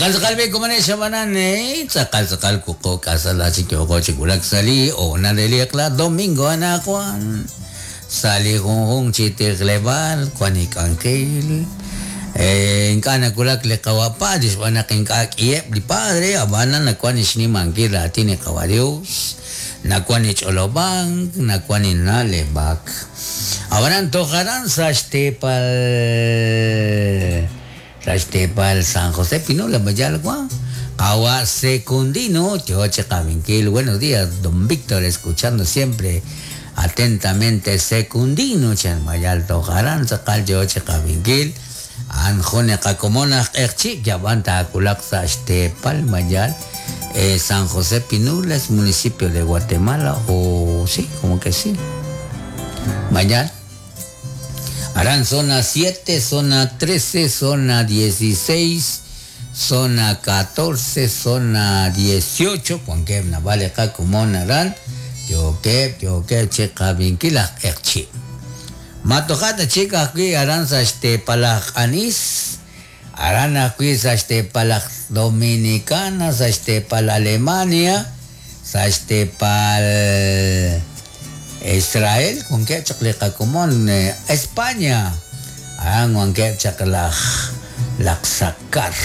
Jo'kan tz'aqal b'i' komonex ab'anan tz'aqal tz'aqal wuqub' k'asal chik yooko chi wulak sa' li hoonal re li eq'la domingo anaqwan. Sa' li junjunq chi tijleb'aal wan li k'anjel. Ink'a' nawulak li qawa' padre xb'aan naq ink'a' k'iheb' li padre, ab'anan nawank li xnimankil raatin li qawa' Dios, nawank li ch'olob'ank, nawank li na'leb'ak. Ab'anan toj aran sa' xteepal Sa' xteepal San José Pinula, Mayalwa, qawa' Secundino yo chi qab'inkil. Buenos días, don Víctor, escuchando siempre atentamente Secundino chan Mayal toj aran tz'aqal yo chi qab'inkil. A'an jun li qakomon aj q'eqchi' yab'an taawulaq sa' xteepal Mayal, San José Pinula es municipio de Guatemala o sí, como que sí. Mayal. Aran zona 7, zona 13, zona 16, zona 14, zona 18, wankeb' naab'al li qakomon aran yookeb' yookeb' chi qab'inkil aj q'eqchi'. Ma toja' ta chik ajwi' aran sa' xteepal aj Q'anis, aran ajwi' sa' xteepal aj Dominicana, sa' xteepal Alemania, sa' xteepal Israel wankeb' chaq li qakomon España, aran wankeb' chaq laj Laqsakar.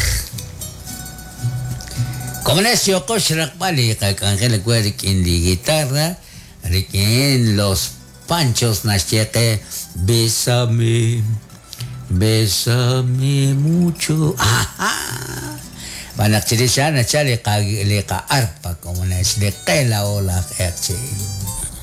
Komonex yooqo xraqb'al li qak'anjel we rik'in li guitarra, rik'in Los Panchos naxye qe Bésame, bésame mucho. Aha! Xb'aan naq chirix a'an nachal li qa li qa-arpa komonex, li qe laa'o laj q'eqchi'.